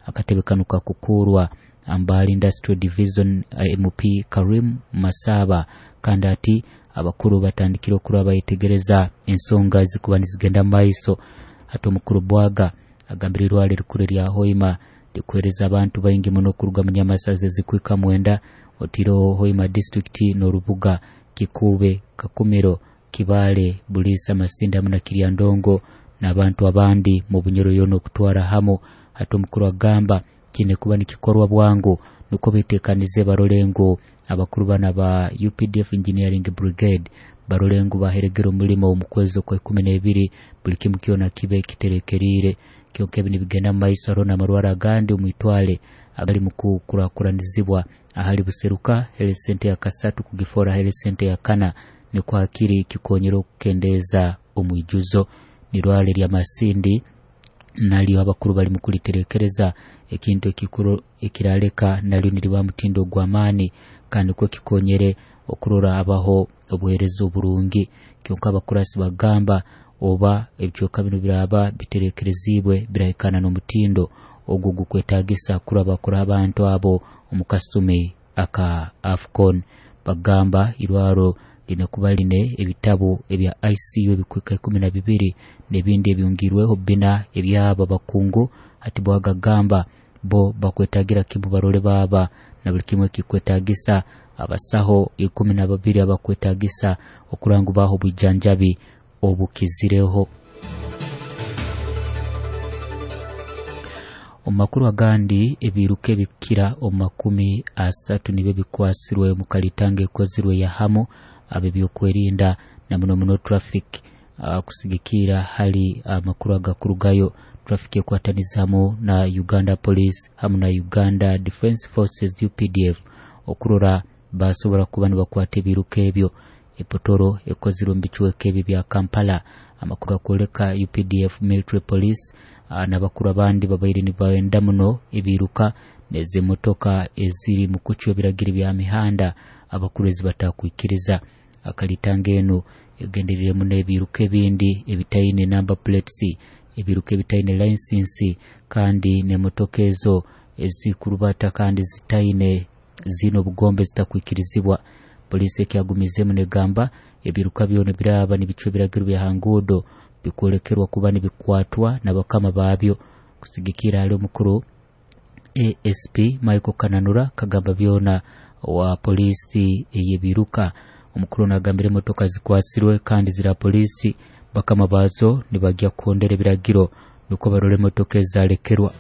Akatebe kanu kakukurwa Mbale Industrial Division MP Karim Masaba, kandi ati abakuru batandikire okuraba bayetegereza ensonga zikuba nizigenda maiso. Hati omukuru Bwaga agambire irwaro erikuru erya Hoima likuhereza abantu baingi muno kuruga munyamasaza ezikwika 9, otiireho Hoima district n'orubuga Kikuube, Kakumiro, Kibaale, Buliisa, Masindi hamu na Kiryandongo n'abantu abandi mu Bunyoro yoona okutwara hamu. Hati omukuru agamba kiine kuba nikikorwa bwangu nukwo betekanize barole ngu abakuru bana ba UPDF Engineering Brigade barole ngu baheregera omulimo omu kwezi okwa 12, buli kimu kyona kibe kiterekerire. Kyonka ebi nibigenda mu maiso, hariho n'amarwaro agandi omwitwale agali mu kukurakuranizibwa ahali Buseruka Health Center ya kasatu kugifora Health Center ya kana, nikwo hakiri kikonyera okukendeeza omwijuzo. Nirwaro erya Masindi nalyo abakuru bali mu kuliterekereza, ekintu ekikuru ekiraleka nalyo niriba mutindo gw'amaani kandi nikwo kikonyere okurora abaho obuheereza oburungi. Kyonka abakurasi bagamba oba ebicweka binu biraba biterekerezibwe birahikana n'omutindo ogwo gukwetagisa kuraba bakura abantu abo omu kasumi aka AFCON. Bagamba irwaro line kuba line ebitabu ebya ICU ebikwika 12 n'ebindi ebyongirweho 4 ebyabo bakungu. Hati bwagagamba bo bakwetagira kimu barole baba na buli kimwe kikwetagisa abasaho 12 abakwetagisa okurangu baho obwijanjabi obukizireho. Omu makuru agandi, ebiruka ebikira omu 30 nibyo bikwasirwe mu kalitanga ekozirwe ya hamu ab'ebyokwerinda na muno muno traffic, kusigikira hali amakuru agakurugayo. Traffic ekwataniza hamu na Uganda Police hamu na Uganda Defence Forces UPDF okurora basobora kuba nibakwata ebiruka ebyo. Epotoro ekozirwe mu bicweka ebi bya Kampala. Amakuru gakwoleka UPDF Military Police n'abakuru abandi babaire nibenda muno ebiruka n'ezimotoka eziri mu kucwa ebiragiro bya mihanda abakuru ezi batakwikiriza. Akalitanga enu egendereiremu n'ebiruka ebindi ebitaine number plates, ebiruka ebitaine license, kandi n'emotoka ezo ezikurubata kandi zitaine zine obugombe zitakwikirizibwa. Polisi ekyagumizemu negamba ebiruka byona biraba nibicwa ebiragiro bya hanguudo bikwolekerwa kuba nibikwatwa n'abakama babyo. Kusigikira hali omukuru ASP Michael Kananura kagamba byona wa polisi ey'ebiruka. Omukuru nagambira emotoka zikwasirwe kandi zira polisi bakama bazo nibajya kuhondera ebiragiro nukwo barole emotoka ezalekerwa.